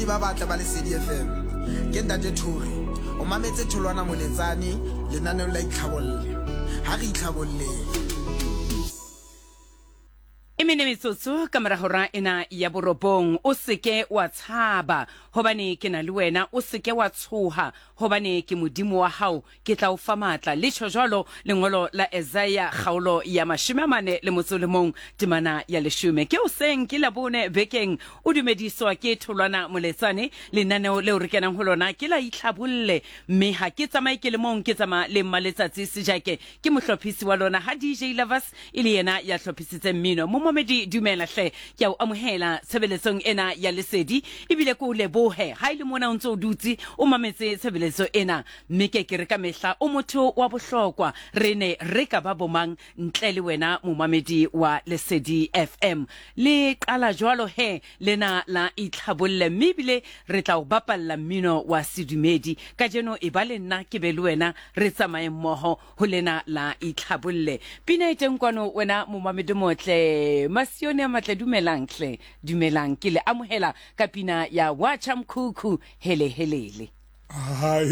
Bamamedi ba batle ba Lesedi FM. Ke Ntate Thori. O mametse Tholwana Moletsane lenaneong la Itlhabolle. Ha re itlhabolleng. E mene metsotso ka mora hora ena ya borobong. O se ke wa tshaba, hobane ke na le wena. O se ke wa tshoha, hobane ke Modimo wa hao. Ke tla o fa matla. Le tjho jwalo lengolo la Esaia kgaolo ya 41 temana ya 10. Ke hoseng ke Labone bekeng o dumediswa ke Tholwana Moletsane. Lenaneo leo re kenang ho lona ke la Itlhabolle, mme ha ke tsamaye ke le mong, ke tsamaya le Mmaletsatsi Sejake, ke mohlophisi wa lona, ha DJ Lovers e le yena ya hlophisitseng mmino. Momamedi dumela hle, ke a o amohela tshebeletsong ena ya Lesedi, ebile ke o lebohe ha e le mona o ntse o dutse o mametse tshebeletso ena. Mme ke ke re ka mehla o motho wa bohlokwa, re ne re ka ba bomang ntle le wena momamedi wa Lesedi FM. Le qala jwalo he lena la itlhabolle, mme ebile re tla o bapalla mmino wa sedumedi. Kajeno e ba le nna ke be le wena, re tsamaye mmoho ho lena la itlhabolle. Pina e teng kwano wena momamedi motle, Masione a matle, dumelang hle, dumelang, ke le amohela ka pina ya Wacha Mkhukhu, hele helele. Hai.